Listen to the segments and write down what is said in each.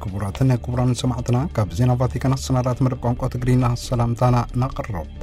ክቡራትን ክቡራን ሰማዕትና፣ ካብ ዜና ቫቲካን ኣሰናዳት መደብ ቋንቋ ትግርኛ ሰላምታና ናቕረባ።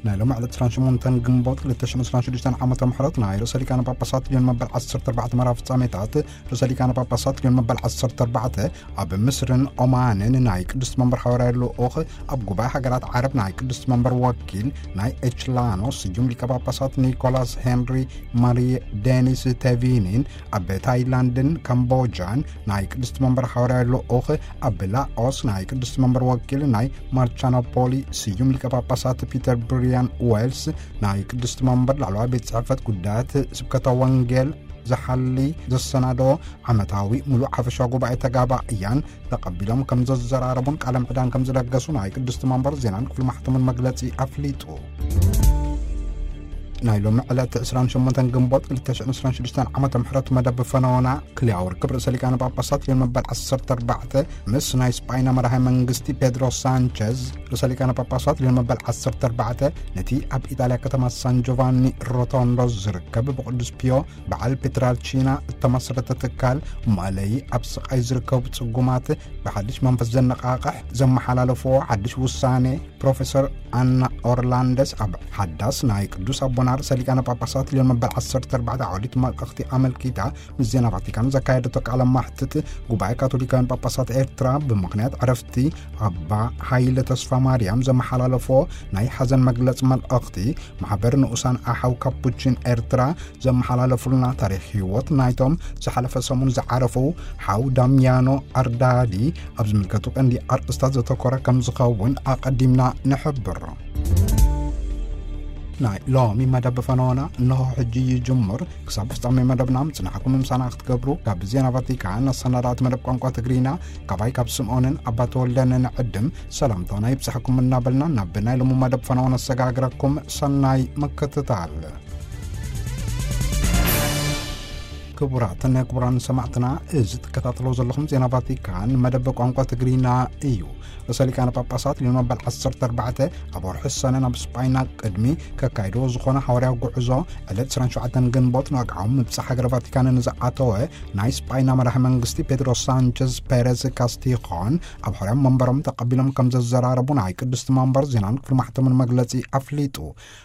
ናይ ሎም ዕለት ዕስራን ሸሞንተን ግንቦት ክልተ ሽሕን ዕስራን ሽዱሽተን ዓመተ ምሕረት ናይ ርእሰ ሊቃነ ጳጳሳት ሊዮን መበል ዓሰርተ ኣርባዕተ መርሃ ፍጻሜታት፣ ርእሰ ሊቃነ ጳጳሳት ሊዮን መበል ዓሰርተ ኣርባዕተ ኣብ ምስርን ኦማንን ናይ ቅድስት መንበር ሓዋርያ ልኡኽ፣ ኣብ ጉባኤ ሃገራት ዓረብ ናይ ቅድስት መንበር ወኪል ናይ ኤችላኖ ስዩም ሊቀ ጳጳሳት ኒኮላስ ሄንሪ ማሪ ዴኒስ ቴቪኒን፣ ኣብ ታይላንድን ካምቦጃን ናይ ቅድስት መንበር ሓዋርያ ልኡኽ፣ ኣብ ላኦስ ናይ ቅድስት መንበር ወኪል ናይ ማርቻኖፖሊ ስዩም ሊቀ ጳጳሳት ፒተር ብሪያን ዌልስ፣ ናይ ቅድስት መንበር ላዕለዋይ ቤት ጽሕፈት ጉዳያት ስብከተ ወንጌል ዝሓሊ ዘሰናዶ ዓመታዊ ምሉእ ሓፈሻ ጉባኤ ተጋባእያን ተቐቢሎም ከም ዘዘራረቡን ቃለ ምዕዳን ከም ዝለገሱ ናይ ቅድስት መንበር ዜናን ክፍሊ ማሕተምን መግለጺ ኣፍሊጡ። ናይ ሎሚ ዕለት ዕስራን ሸሞንተን ግንቦት ክልተ ሽሕን ዕስራን ሽዱሽተን ዓመተ ምሕረት መደብ ፈነወና ክልያዊ ርክብ ርእሰ ሊቃነ ጳጳሳት ሊዮን መበል ዓሰርተ ኣርባዕተ ምስ ናይ ስጳይና መራሒ መንግስቲ ፔድሮ ሳንቸዝ፣ ርእሰ ሊቃነ ጳጳሳት ሊዮን መበል ዓሰርተ ኣርባዕተ ነቲ ኣብ ኢጣልያ ከተማ ሳን ጆቫኒ ሮቶንዶ ዝርከብ ብቅዱስ ፒዮ በዓል ፔትራልቺና እተመስረተ ትካል፣ መለይ ኣብ ስቓይ ዝርከቡ ጽጉማት ብሓድሽ መንፈስ ዘነቓቕሕ ዘመሓላለፍዎ ሓድሽ ውሳኔ፣ ፕሮፌሰር ኣና ኦርላንደስ ኣብ ሓዳስ ናይ ቅዱስ ኣቦና ርእሰ ሊቃነ ጳጳሳት ሊዮን መበል ዓሰርተ ኣርባዕተ ዓውዲት መልእኽቲ ኣመልኪታ ምስ ዜና ቫቲካን ዘካየደቶ ቃለ ማሕትት፣ ጉባኤ ካቶሊካውያን ጳጳሳት ኤርትራ ብምኽንያት ዕረፍቲ ኣባ ሃይለ ተስፋ ማርያም ዘመሓላለፎ ናይ ሓዘን መግለጽ መልእኽቲ፣ ማሕበር ንኡሳን ኣሓው ካፑቺን ኤርትራ ዘመሓላለፉልና፣ ታሪኽ ህይወት ናይቶም ዝሓለፈ ሰሙን ዝዓረፉ ሓው ዳሚያኖ ኣርዳዲ ኣብ ዝምልከቱ ቀንዲ ኣርእስታት ዘተኮረ ከም ዝኸውን ኣቐዲምና ንሕብር። ናይ ሎሚ መደብ ፈነወና እንሆ ሕጂ ይጅምር። ክሳብ ፍጻሜ መደብና ምጽናሕኩም ምሳና ክትገብሩ ካብ ዜና ቫቲካን ኣሰናዳእቲ መደብ ቋንቋ ትግርኛ ካባይ ካብ ስምዖንን ኣባ ተወልደን ንዕድም ሰላምታና ይብጻሕኩም እናበልና፣ ናብ ናይ ሎሚ መደብ ፈነወና ኣሰጋግረኩም። ሰናይ ምክትታል። ክቡራትን ክቡራን ሰማዕትና፣ እዚ ትከታተሎ ዘለኹም ዜና ቫቲካን መደብ ቋንቋ ትግርኛ እዩ። ርእሰ ሊቃነ ጳጳሳት ሊዮን መበል ዓሰርተ ኣርባዕተ ኣብ ወርሒ ሰነ ናብ ስጳይና ቅድሚ ከካይድዎ ዝኾነ ሓዋርያዊ ጉዕዞ፣ ዕለት ዕስራን ሸውዓተን ግንቦት ንወግዓዊ ምብጻሕ ሃገረ ቫቲካን ንዝኣተወ ናይ ስጳይና መራሒ መንግስቲ ፔድሮ ሳንቸዝ ፔሬዝ ካስቲኾን ኣብ ሕርያም መንበሮም ተቐቢሎም ከም ዘዘራረቡ ናይ ቅድስቲ መንበር ዜናን ክፍሊ ማሕተምን መግለጺ ኣፍሊጡ።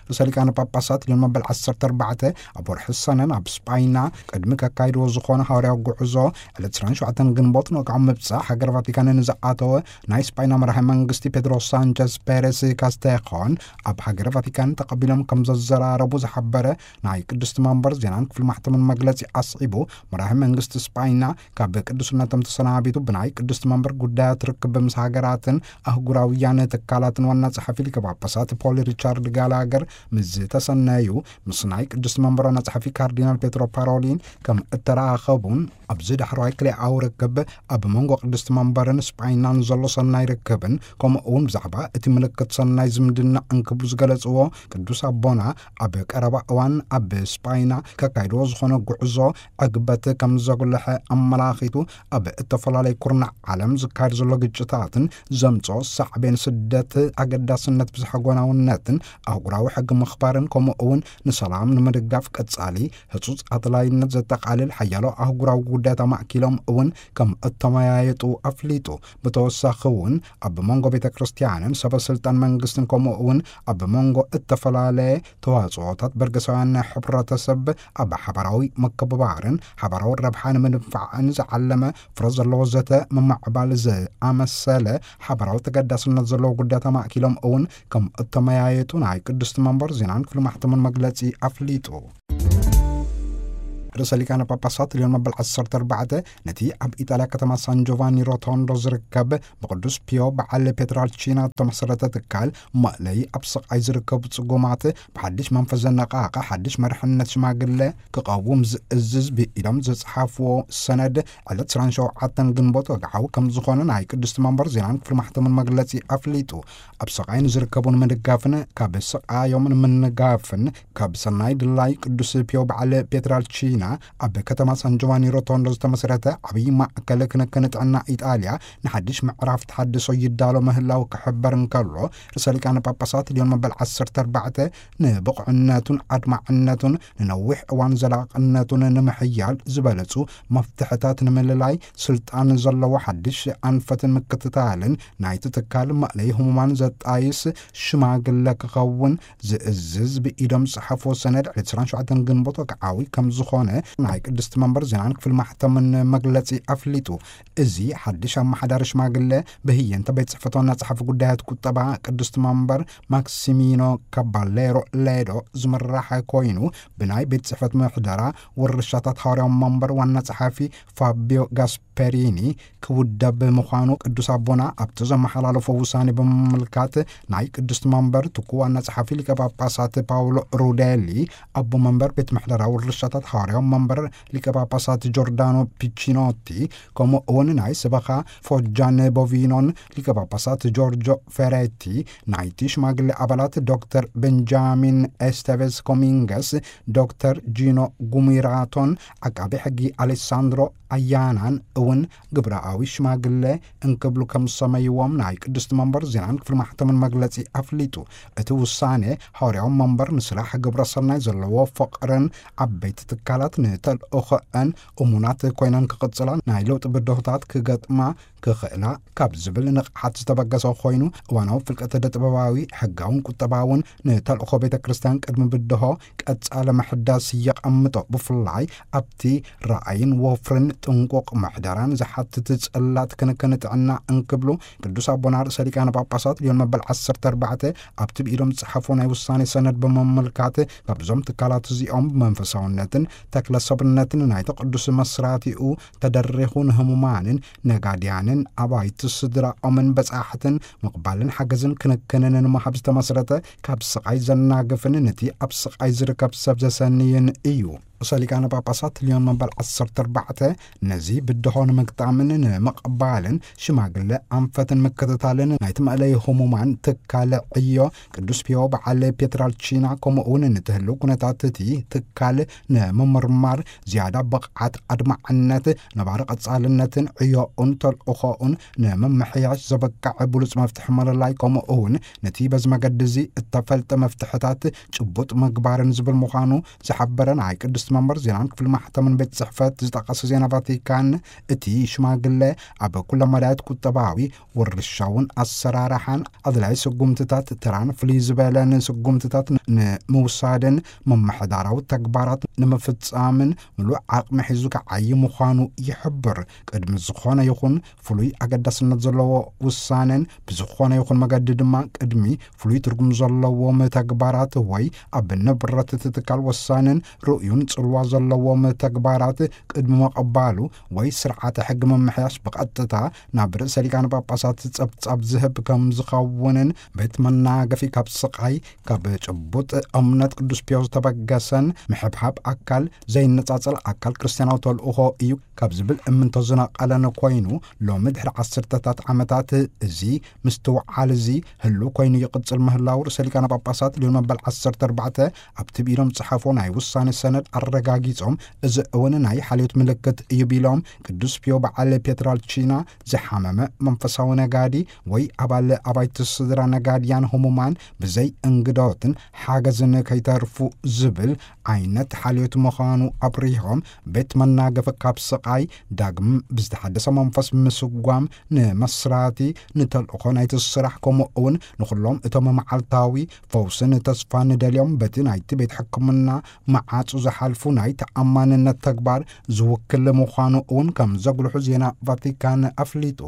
ርእሰ ሊቃነ ጳጳሳት ሊዮን መበል ዓሰርተ ኣርባዕተ ኣብ ወርሒ ሰነ ናብ ስጳይና ቅድሚ ከካይድዎ ዝኾነ ሓዋርያዊ ጉዕዞ፣ ዕለት ዕስራን ሸውዓተን ግንቦት ንወግዓዊ ምብጻሕ ሃገረ ቫቲካን ንዝኣተወ ናይ ስጳይና መራሒ መንግስቲ ፔድሮ ሳንቸዝ ፔሬስ ካስቴኾን ኣብ ሃገረ ቫቲካን ተቐቢሎም ከም ዘዘራረቡ ዝሓበረ ናይ ቅድስቲ መንበር ዜናን ክፍሊ ማሕተምን መግለጺ ኣስዒቡ፣ መራሒ መንግስቲ ስጳይና ካብ ቅዱስነቶም ተሰናቢቱ ብናይ ቅድስቲ መንበር ጉዳያት ርክብ ምስ ሃገራትን ኣህጉራውያን ትካላትን ዋና ጸሓፊ ሊቀ ጳጳሳት ፖል ሪቻርድ ጋላገር ምስ ዝተሰነዩ፣ ምስ ናይ ቅድስቲ መንበር ዋና ጸሓፊ ካርዲናል ፔትሮ ፓሮሊን ከም እተራኸቡን፣ ኣብዚ ዳሕረዋይ ክልኤኣዊ ርክብ ኣብ መንጎ ቅድስቲ መንበርን ስጳይናን ዘሎ ሰናይ ርክብን፣ ከምኡ እውን ብዛዕባ እቲ ምልክት ሰናይ ዝምድና እንክብሉ ዝገለጽዎ ቅዱስ ኣቦና፣ ኣብ ቀረባ እዋን ኣብ ስጳይና ከካይድዎ ዝኾነ ጉዕዞ ዕግበት ከም ዘጉልሐ ኣመላኺቱ፣ ኣብ እተፈላለዩ ኩርናዕ ዓለም ዝካየድ ዘሎ ግጭታትን ዘምጽኦ ሳዕቤን ስደት ኣገዳስነት ብዝሓ ጎናውነትን ኣህጉራዊ ሕጊ ምኽባርን፣ ከምኡ እውን ንሰላም ንምድጋፍ ቀጻሊ ህጹጽ ኣድላይነት ዘጠቓልል ሓያሎ ኣህጉራዊ ጉዳያት ኣማእኪሎም እውን ከም እተመያየጡ ኣፍሊጡ። ብተወሳኺ እውን ኣብ መንጎ ቤተ ክርስቲያንን ሰበ ስልጣን መንግስትን፣ ከምኡ እውን ኣብ መንጎ እተፈላለየ ተዋጽኦታት በርገሳውያን ናይ ሕብረተሰብ ኣብ ሓባራዊ ምክብባርን ሓባራዊ ረብሓ ንምድንፋዕን ዝዓለመ ፍረ ዘለዎ ዘተ ምምዕባል ዝኣመሰለ ሓባራዊ ተገዳስነት ዘለዎ ጉዳያት ኣማእኪሎም እውን ከም እተመያየጡ ናይ ቅድስቲ መንበር ዜናን ክፍሊ ማሕተምን መግለጺ ኣፍሊጡ። ርእሰ ሊቃነ ጳጳሳት ሊዮን መበል ዓሰርተ ኣርባዕተ ነቲ ኣብ ኢጣልያ ከተማ ሳን ጆቫኒ ሮቶንዶ ዝርከብ ብቅዱስ ፒዮ በዓል ፔትራልቺና እተመሰረተ ትካል፣ መእለይ ኣብ ስቓይ ዝርከቡ ጽጉማት ብሓድሽ መንፈስ ዘነቓቕሕ ሓድሽ መርሕነት ሽማግለ ክቐውም ዝእዝዝ ብኢሎም ዝጸሓፍዎ ሰነድ፣ ዕለት ዕስራን ሸውዓተን ግንቦት ወግዓዊ ከም ዝኾነ ናይ ቅድስቲ መንበር ዜናን ክፍሊ ማሕተምን መግለጺ ኣፍሊጡ። ኣብ ስቓይ ንዝርከቡ ንምድጋፍን ካብ ስቓዮም ንምንጋፍን ካብ ሰናይ ድላይ ቅዱስ ፒዮ በዓል ፔትራልቺና ኣብ ከተማ ሳን ጆቫኒ ሮቶንዶ ዝተመስረተ ዓብዪ ማእከል ክንክን ጥዕና ኢጣልያ ንሓድሽ ምዕራፍ ተሓድሶ ይዳሎ ምህላው ክሕበር እንከሎ፣ ርእሰ ሊቃነ ጳጳሳት ሊዮን መበል ዓሰርተ ኣርባዕተ ንብቕዕነቱን ኣድማዕነቱን ንነዊሕ እዋን ዘላቕነቱን ንምሕያል ዝበለጹ መፍትሕታት ንምልላይ ስልጣን ዘለዎ ሓድሽ ኣንፈትን ምክትታልን ናይቲ ትካል መእለይ ህሙማን ዘጣይስ ሽማግለ ክኸውን ዝእዝዝ ብኢዶም ዝጸሓፍዎ ሰነድ ዕለት ዕስራን ሸውዓተን ግንቦት ወግዓዊ ከም ዝኾነ ናይ ቅድስቲ መንበር ዜናን ክፍሊ ማሕተምን መግለጺ ኣፍሊጡ። እዚ ሓድሽ ኣመሓዳሪ ሽማግለ ብህየንተ ቤት ጽሕፈት ዋና ጸሓፊ ጉዳያት ቁጠባ ቅድስቲ መንበር ማክሲሚኖ ካባሌሮ ሌዶ ዝምራሕ ኮይኑ፣ ብናይ ቤት ጽሕፈት ምሕደራ ውርሻታት ሃዋርያዊ መንበር ዋና ጸሓፊ ፋቢዮ ጋስፐሪኒ ክውደብ ምዃኑ ቅዱስ ኣቦና ኣብቲ ዘመሓላለፎ ውሳኔ ብምምልካት፣ ናይ ቅድስቲ መንበር ትኩ ዋና ጸሓፊ ሊቀ ጳጳሳት ፓውሎ ሩዴሊ፣ ኣቦ መንበር ቤት ምሕደራ ውርሻታት ሃዋርያዊ መንበር ሊቀ ጳጳሳት ጆርዳኖ ፒቺኖቲ፣ ከምኡ እውን ናይ ሰበኻ ፎጃን ቦቪኖን ሊቀ ጳጳሳት ጆርጆ ፌሬቲ፣ ናይቲ ሽማግሌ ኣባላት ዶክተር ቤንጃሚን ኤስቴቬዝ ኮሚንገስ፣ ዶክተር ጂኖ ጉሚራቶን ዓቃቢ ሕጊ ኣሌሳንድሮ ኣያናን እውን ግብራዊ ሽማግሌ እንክብሉ ከም ዝሰመይዎም ናይ ቅድስቲ መንበር ዜናን ክፍሊ ማሕተምን መግለጺ ኣፍሊጡ። እቲ ውሳኔ ሃዋርያዊ መንበር ንስራሕ ግብረ ሰናይ ዘለዎ ፍቕርን ዓበይቲ ትካላት ንተልእኾአን እሙናት ኮይነን ክቕጽላ ናይ ለውጢ ብድሆታት ክገጥማ ክኽእላ ካብ ዝብል ንቕሓት ዝተበገሰ ኮይኑ፣ እዋናዊ ፍልቀት ዕደ ጥበባዊ፣ ሕጋውን ቁጠባውን ንተልእኾ ቤተ ክርስቲያን ቅድሚ ብድሆ ቀጻሊ ምሕዳስ የቐምጦ። ብፍላይ ኣብቲ ራእይን ወፍርን ጥንቁቕ ምሕደራን ዝሓትት ጽላት ክንክን ጥዕና እንክብሉ ቅዱስ ኣቦና ርእሰ ሊቃነ ጳጳሳት ሊዮን መበል ዓሰርተ ኣርባዕተ ኣብቲ ብኢዶም ዝጸሓፎ ናይ ውሳኔ ሰነድ ብምምልካት፣ ካብዞም ትካላት እዚኦም ብመንፈሳውነትን ተክለ ሰብነትን ናይቲ ቅዱስ መስራቲኡ ተደሪኹ ንህሙማንን ነጋድያንን ኣባይቲ ስድራኦምን በጻሕትን ምቕባልን ሓገዝን ክንክንን ንምሃብ ዝተመስረተ ካብ ስቓይ ዘናግፍን ነቲ ኣብ ስቓይ ዝርከብ ሰብ ዘሰንይን እዩ። ርእሰ ሊቃነ ጳጳሳት ሊዮን መበል ዓሰርተ ኣርባዕተ ነዚ ብድሆ ንምግጣምን ንምቕባልን ሽማግለ ኣንፈትን ምክትታልን ናይቲ መእለይ ህሙማን ትካል ዕዮ ቅዱስ ፒዮ በዓል ፔትራልቺና፣ ከምኡ እውን ንትህልው ኩነታት እቲ ትካል ንምምርማር ዝያዳ ብቕዓት ኣድማዕነት ነባሪ ቀጻልነትን ዕዮኡን ተልእኾኡን ንምምሕያሽ ዘበቅዕ ብሉጽ መፍትሒ ምልላይ፣ ከምኡ እውን ነቲ በዚ መገዲ እዚ እተፈልጠ መፍትሕታት ጭቡጥ ምግባርን ዝብል ምዃኑ ዝሓበረ ናይ ቅድስቲ መንበር ዜናን ክፍሊ ማሕተምን ቤት ጽሕፈት ዝጠቐሰ ዜና ቫቲካን፣ እቲ ሽማግለ ኣብ ኩለ መዳያት ቁጠባዊ፣ ውርሻውን ኣሰራርሓን ኣድላይ ስጉምትታት ተራን ፍልይ ዝበለን ስጉምትታት ንምውሳድን ምምሕዳራዊ ተግባራት ንምፍጻምን ምሉእ ዓቕሚ ሒዙ ክዓዪ ምዃኑ ይሕብር። ቅድሚ ዝኾነ ይኹን ፍሉይ ኣገዳስነት ዘለዎ ውሳኔን ብዝኾነ ይኹን መገዲ ድማ ቅድሚ ፍሉይ ትርጉም ዘለዎም ተግባራት ወይ ኣብ ንብረት እቲ ትካል ወሳንን ርእዩን ጽልዋ ዘለዎም ተግባራት ቅድሚ ምቕባሉ ወይ ስርዓተ ሕጊ ምምሕያሽ ብቐጥታ ናብ ርእሰ ሊቃነ ጳጳሳት ጸብጻብ ዝህብ ከም ዝኸውንን ቤት መናገፊ ካብ ስቓይ ካብ ጭቡጥ እምነት ቅዱስ ፒዮ ዝተበገሰን ምሕብሓብ ኣካል ዘይነጻጸል ኣካል ክርስትያናዊ ተልእኾ እዩ ካብ ዝብል እምንቶ ዝነቐለን ኮይኑ፣ ሎሚ ድሕሪ ዓሰርተታት ዓመታት እዚ ምስትውዓል እዚ ህሉ ኮይኑ ይቕጽል ምህላው ርእሰ ሊቃነ ጳጳሳት ሊዮን መበል ዓሰርተ ኣርባዕተ ኣብቲ ብኢዶም ዝጸሓፎ ናይ ውሳኔ ሰነድ ኣረጋጊጾም፣ እዚ እውን ናይ ሓልዮት ምልክት እዩ ቢሎም፣ ቅዱስ ፒዮ በዓል ፔትራልቺና ዝሓመመ መንፈሳዊ ነጋዲ ወይ ኣባል ኣባይቲ ስድራ ነጋድያን ህሙማን ብዘይ እንግዶትን ሓገዝን ከይተርፉ ዝብል ዓይነት ሓልዮት ምዃኑ ኣብሪሆም፣ ቤት መናገፊ ካብ ስቓይ ዳግም ብዝተሓደሰ መንፈስ ምስጓም ንመስራቲ ንተልእኾ ናይቲ ስራሕ፣ ከምኡ እውን ንኹሎም እቶም መዓልታዊ ፈውስን ተስፋን ንደልዮም በቲ ናይቲ ቤት ሕክምና መዓጹ ዝሓልፉ ናይ ተኣማንነት ተግባር ዝውክል ምዃኑ እውን ከም ዘጉልሑ ዜና ቫቲካን ኣፍሊጡ።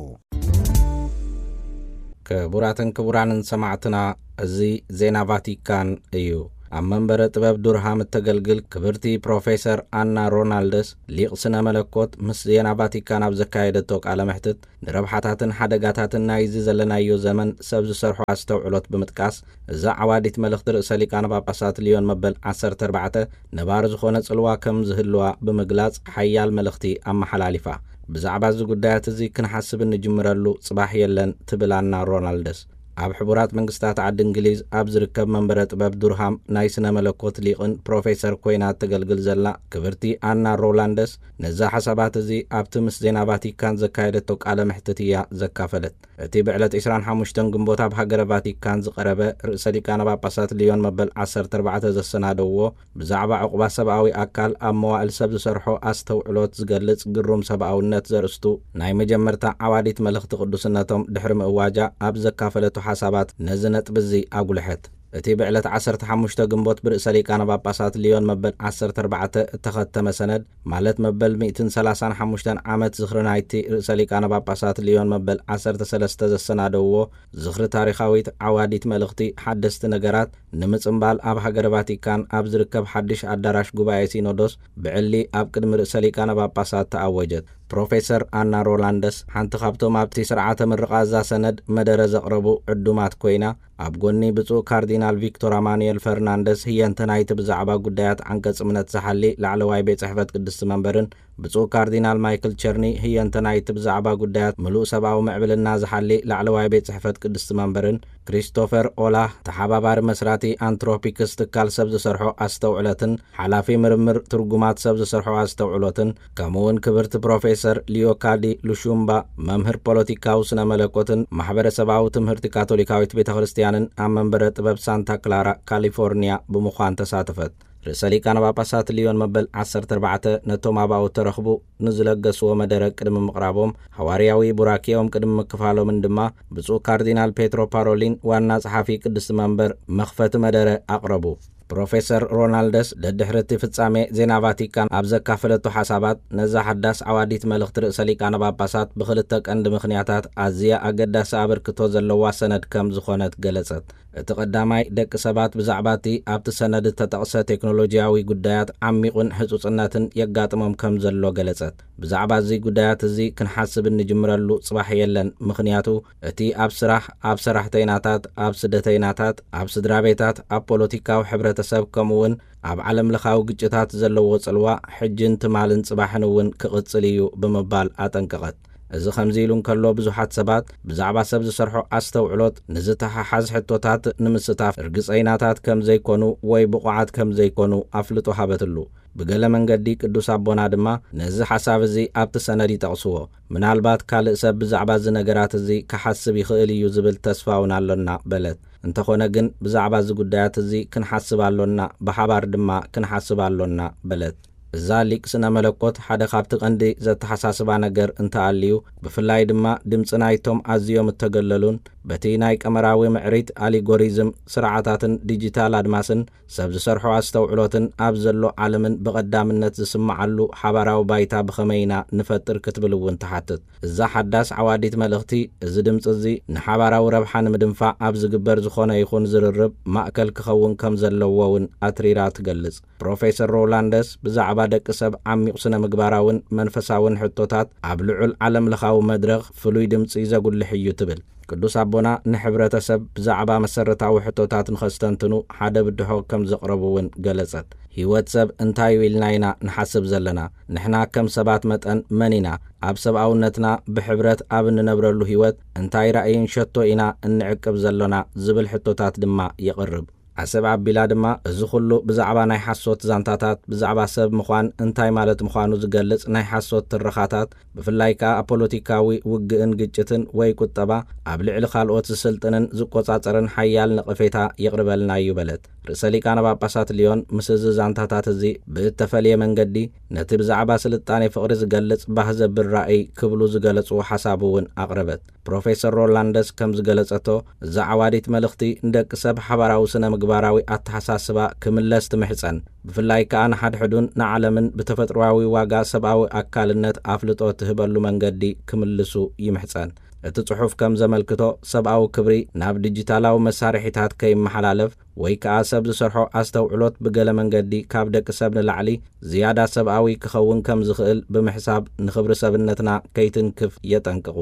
ክቡራትን ክቡራንን ሰማዕትና፣ እዚ ዜና ቫቲካን እዩ። ኣብ መንበረ ጥበብ ዱርሃም እተገልግል ክብርቲ ፕሮፌሰር ኣና ሮናልደስ፣ ሊቕ ስነ መለኮት፣ ምስ ዜና ቫቲካን ኣብ ዘካየደቶ ቃለ መሕትት፣ ንረብሓታትን ሓደጋታትን ናይዚ ዘለናዮ ዘመን ሰብ ዝሰርሖ ኣስተውዕሎት ብምጥቃስ፣ እዛ ዓዋዲት መልእኽቲ ርእሰ ሊቃነ ጳጳሳት ልዮን መበል ዓሰርተ ኣርባዕተ ነባሪ ዝኾነ ጽልዋ ከም ዝህልዋ ብምግላጽ፣ ሓያል መልእኽቲ ኣመሓላሊፋ። ብዛዕባ እዚ ጉዳያት እዚ ክንሓስብ እንጅምረሉ ጽባሕ የለን፣ ትብል ኣና ሮናልደስ። ኣብ ሕቡራት መንግስታት ዓዲ እንግሊዝ ኣብ ዝርከብ መንበረ ጥበብ ዱርሃም ናይ ስነ መለኮት ሊቕን ፕሮፌሰር ኮይና እተገልግል ዘላ ክብርቲ ኣና ሮላንደስ፣ ነዛ ሓሳባት እዚ ኣብቲ ምስ ዜና ቫቲካን ዘካየደቶ ቃለ መሕትት እያ ዘካፈለት። እቲ ብዕለት ዕስራን ሓሙሽተን ግንቦት ኣብ ሃገረ ቫቲካን ዝቐረበ ርእሰ ሊቃነ ጳጳሳት ሊዮን መበል ዓሰርተ ኣርባዕተ ዘሰናደውዎ ብዛዕባ ዕቑባ ሰብኣዊ ኣካል ኣብ መዋእል ሰብ ዝሰርሖ ኣስተውዕሎት ዝገልጽ ግሩም ሰብኣውነት ዘርእስቱ ናይ መጀመርታ ዓዋዲት መልእኽቲ ቅዱስነቶም ድሕሪ ምእዋጃ ኣብ ዘካፈለቶ ሓሳባት ነዚ ነጥቢ እዚ ኣጉልሐት። እቲ ብዕለት ዓሰርተ ሓሙሽተ ግንቦት ብርእሰ ሊቃነ ጳጳሳት ሊዮን መበል ዓሰርተ ኣርባዕተ እተኸተመ ሰነድ፣ ማለት መበል ሚእትን ሰላሳን ሓሙሽተን ዓመት ዝኽሪ ናይቲ ርእሰ ሊቃነ ጳጳሳት ሊዮን መበል ዓሰርተ ሰለስተ ዘሰናደውዎ ዝኽሪ ታሪኻዊት ዓዋዲት መልእኽቲ ሓደስቲ ነገራት ንምጽምባል ኣብ ሃገረ ቫቲካን ኣብ ዝርከብ ሓድሽ ኣዳራሽ ጉባኤ ሲኖዶስ ብዕሊ ኣብ ቅድሚ ርእሰ ሊቃነ ጳጳሳት ተኣወጀት። ፕሮፌሰር ኣና ሮላንደስ ሓንቲ ካብቶም ኣብቲ ስርዓተ ምርቓ እዛ ሰነድ መደረ ዘቕረቡ ዕዱማት ኮይና፣ ኣብ ጎኒ ብፁዕ ካርዲናል ቪክቶር ኣማኑኤል ፈርናንደስ ህየንተ ናይቲ ብዛዕባ ጉዳያት ዓንቀጽ እምነት ዝሓሊ ላዕለዋይ ቤት ጽሕፈት ቅድስቲ መንበርን ብፁዕ ካርዲናል ማይክል ቸርኒ ህየንተ ናይቲ ብዛዕባ ጉዳያት ምሉእ ሰብኣዊ ምዕብልና ዝሓሊ ላዕለዋይ ቤት ጽሕፈት ቅድስቲ መንበርን ክሪስቶፈር ኦላህ ተሓባባሪ መስራቲ ኣንትሮፒክስ ትካል ሰብ ዝሰርሖ ኣስተውዕለትን ሓላፊ ምርምር ትርጉማት ሰብ ዝሰርሖ ኣስተውዕሎትን ከምኡውን ክብርቲ ፕሮፌሰር ሊዮካዲ ሉሹምባ መምህር ፖለቲካዊ ስነ መለኮትን ማሕበረሰባዊ ትምህርቲ ካቶሊካዊት ቤተ ክርስቲያንን ኣብ መንበረ ጥበብ ሳንታ ክላራ ካሊፎርኒያ ብምዃን ተሳተፈት። ርእሰ ሊቃነ ጳጳሳት ሊዮን መበል ዓሰርተ ኣርባዕተ ነቶም ኣብኡ እተረኽቡ ንዝለገስዎ መደረ ቅድሚ ምቕራቦም፣ ሃዋርያዊ ቡራኬኦም ቅድሚ ምክፋሎምን ድማ ብፁዕ ካርዲናል ፔትሮ ፓሮሊን ዋና ጸሓፊ ቅድስቲ መንበር መኽፈቲ መደረ ኣቕረቡ። ፕሮፌሰር ሮናልደስ ደድሕሪ እቲ ፍጻሜ ዜና ቫቲካን ኣብ ዘካፈለቶ ሓሳባት፣ ነዛ ሓዳስ ዓዋዲት መልእኽቲ ርእሰ ሊቃነ ጳጳሳት ብኽልተ ቀንዲ ምኽንያታት ኣዝያ ኣገዳሲ ኣበርክቶ ዘለዋ ሰነድ ከም ዝኾነት ገለጸት። እቲ ቀዳማይ፣ ደቂ ሰባት ብዛዕባ እቲ ኣብቲ ሰነድ እተጠቕሰ ቴክኖሎጂያዊ ጉዳያት ዓሚቑን ህጹጽነትን የጋጥሞም ከም ዘሎ ገለጸት። ብዛዕባ እዚ ጉዳያት እዚ ክንሓስብ እንጅምረሉ ጽባሕ የለን፣ ምኽንያቱ እቲ ኣብ ስራሕ፣ ኣብ ሰራሕተይናታት፣ ኣብ ስደተይናታት፣ ኣብ ስድራ ቤታት፣ ኣብ ፖለቲካዊ ሕብረተሰብ፣ ከምኡውን ኣብ ዓለም ለኻዊ ግጭታት ዘለዎ ጽልዋ ሕጅን ትማልን ጽባሕን እውን ክቕጽል እዩ ብምባል ኣጠንቀቐት። እዚ ከምዚ ኢሉ እንከሎ፣ ብዙሓት ሰባት ብዛዕባ ሰብ ዝሰርሖ ኣስተውዕሎት ንዝተሓሓዝ ሕቶታት ንምስታፍ ርግጸይናታት ከም ዘይኮኑ ወይ ብቑዓት ከም ዘይኮኑ ኣፍልጦ ሃበትሉ። ብገለ መንገዲ ቅዱስ ኣቦና ድማ ነዚ ሓሳብ እዚ ኣብቲ ሰነድ ይጠቕስዎ። ምናልባት ካልእ ሰብ ብዛዕባ እዚ ነገራት እዚ ክሓስብ ይኽእል እዩ ዝብል ተስፋ እውን ኣሎና በለት። እንተኾነ ግን ብዛዕባ እዚ ጉዳያት እዚ ክንሓስብ ኣሎና፣ ብሓባር ድማ ክንሓስብ ኣሎና በለት። እዛ ሊቅ ስነ መለኮት ሓደ ካብቲ ቀንዲ ዘተሓሳስባ ነገር እንተኣልዩ፣ ብፍላይ ድማ ድምፂ ናይቶም ኣዝዮም እተገለሉን በቲ ናይ ቀመራዊ ምዕሪት ኣሊጎሪዝም ስርዓታትን ዲጂታል ኣድማስን ሰብ ዝሰርሖ ኣስተውዕሎትን ኣብ ዘሎ ዓለምን ብቐዳምነት ዝስምዓሉ ሓባራዊ ባይታ ብኸመይ ኢና ንፈጥር ክትብል እውን ትሓትት። እዛ ሓዳስ ዓዋዲት መልእኽቲ፣ እዚ ድምፂ እዚ ንሓባራዊ ረብሓ ንምድንፋዕ ኣብ ዝግበር ዝኾነ ይኹን ዝርርብ ማእከል ክኸውን ከም ዘለዎ እውን ኣትሪራ ትገልጽ። ፕሮፌሰር ሮላንደስ ብዛዕባ ደቂ ሰብ ዓሚቕ ስነ ምግባራውን መንፈሳውን ሕቶታት ኣብ ልዑል ዓለም ለኻዊ መድረኽ ፍሉይ ድምፂ ዘጉልሕ እዩ ትብል። ቅዱስ ኣቦና ንሕብረተሰብ ብዛዕባ መሰረታዊ ሕቶታት ንኸስተንትኑ ሓደ ብድሆ ከም ዘቕረቡ እውን ገለጸት። ህይወት ሰብ እንታይ እዩ ኢልና ኢና ንሓስብ ዘለና? ንሕና ከም ሰባት መጠን መን ኢና? ኣብ ሰብኣውነትና ብሕብረት ኣብ እንነብረሉ ህይወት እንታይ ራእይን ሸቶ ኢና እንዕቅብ ዘሎና? ዝብል ሕቶታት ድማ የቕርብ። ዓሰብ ኣቢላ ድማ፣ እዚ ኹሉ ብዛዕባ ናይ ሓሶት ዛንታታት፣ ብዛዕባ ሰብ ምዃን እንታይ ማለት ምዃኑ ዝገልጽ ናይ ሓሶት ትረኻታት፣ ብፍላይ ከኣ ኣብ ፖለቲካዊ ውግእን ግጭትን ወይ ቁጠባ ኣብ ልዕሊ ካልኦት ዝስልጥንን ዝቆጻጸርን ሓያል ነቐፌታ የቕርበልና እዩ በለት። ርእሰ ሊቃነ ጳጳሳት ሊዮን ምስ እዚ ዛንታታት እዚ ብእተፈልየ መንገዲ፣ ነቲ ብዛዕባ ስልጣኔ ፍቕሪ ዝገልጽ ባህ ዘብል ራእይ ክብሉ ዝገለጽዎ ሓሳብ እውን ኣቕረበት። ፕሮፌሰር ሮላንደስ ከም ዝገለጸቶ፣ እዛ ዓዋዲት መልእኽቲ ንደቂ ሰብ ሓባራዊ ስነ ምግባራዊ ኣተሓሳስባ ክምለስ ትምሕጸን። ብፍላይ ከኣ ንሓድሕዱን ንዓለምን ብተፈጥሮኣዊ ዋጋ ሰብኣዊ ኣካልነት ኣፍልጦ ትህበሉ መንገዲ ክምልሱ ይምሕጸን። እቲ ጽሑፍ ከም ዘመልክቶ፣ ሰብኣዊ ክብሪ ናብ ዲጂታላዊ መሳርሒታት ከይመሓላለፍ ወይ ከኣ ሰብ ዝሰርሖ ኣስተውዕሎት ብገለ መንገዲ ካብ ደቂ ሰብ ንላዕሊ ዝያዳ ሰብኣዊ ክኸውን ከም ዝኽእል ብምሕሳብ፣ ንኽብሪ ሰብነትና ከይትንክፍ የጠንቅቑ።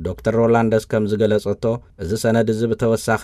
ዶክተር ሮላንደስ ከም ዝገለጸቶ፣ እዚ ሰነድ እዚ ብተወሳኺ